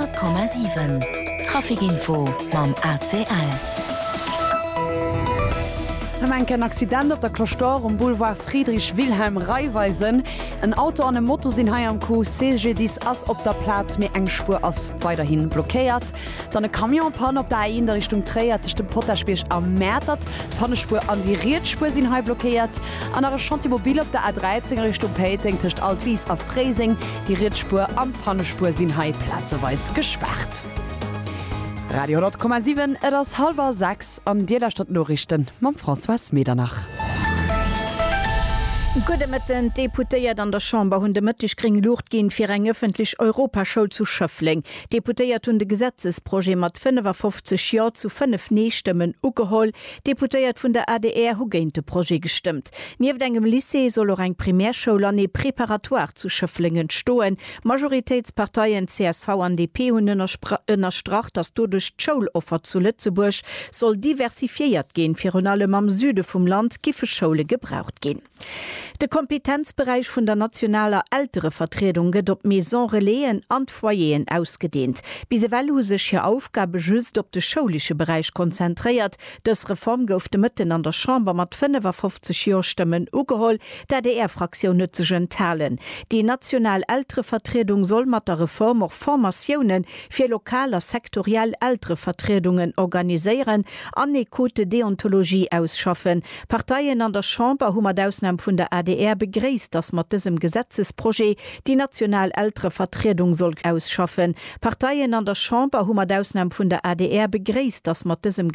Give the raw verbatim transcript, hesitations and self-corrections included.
Honnert Komma siwen, Trafic Info mam A C L. Am enken Accident op der Cloche d'Or um Boulevard Friedrich Wilhelm Raiffeisen. En Auto an e Moto sinn hei am Coup. C G D I S ass op der Plaz, mee eng Spuer ass weiderhi blockéiert. Dann e Camion en panne op der A eent a Richtung Tréier tëscht dem Potaschbierg a Mäertert. D'Pannespuer an déi riets Spuer sinn hei blockéiert. An nach e Chantier mobile op der A dräizéng a Richtung Péiteng tëscht Altwis a Fréiseng. Déi riets Spuer an d'Pannespuer sinn hei plazeweis gespaart. Radio honnert Komma siwen, et ass hallwer sechs an Dir lauschtert d'Noriichten mam Françoise Medernach. Gudde Mëtten. D'Deputéiert an der Chamber hunn de Mëtteg gréng Luucht ginn fir eng ëffentlech Europaschoul zu Schëffleng. D'Deputéiert hunn de Gesetzesprojet mat fënnefafofzeg Jo zu fënnef Nee-Stëmmen ugeholl. D'Deputéiert vun der A D R hu géint de Projet gestëmmt. Nieft engem Lycée soll och eng Primärschoul an ee Préparatoire zu Schëffleng entstoen. Majoritéitsparteien C S V an D P hunn ënnerstrach, datt doduerch d'Schouloffer zu Lëtzebuerg soll diversifiéiert ginn. Virun allem am Süde vum Land giffe Schoule gebraucht ginn. De Kompetenzberäich vun der nationaler Elterevertriedung gëtt op Maison Relaisen an d'Foyeren ausgedeent. Bis ewell hu sech hir Aufgabe just op de schoulesche Beräich konzentréiert. Dës Reform gouf de Mëtten an der Chamber mat fënnefafofzeg Jo-Stëmmen ugeholl. D'A D R-Fraktioun huet sech enthalen. Déi national Elterevertriedung soll mat der Reform och Formatioune fir lokal a sektoriell Elterevertriedungen organiséieren an e Code de déontologie ausschaffen. Parteien an der Chamber hu mat Ausnam vun der A D R begréisst, datt mat dësem Gesetzesprojet déi national Elterevertriedung soll ausschaffen. Parteien an der Chamber hu mat Ausnam vun der A D R begréisst, datt mat dësem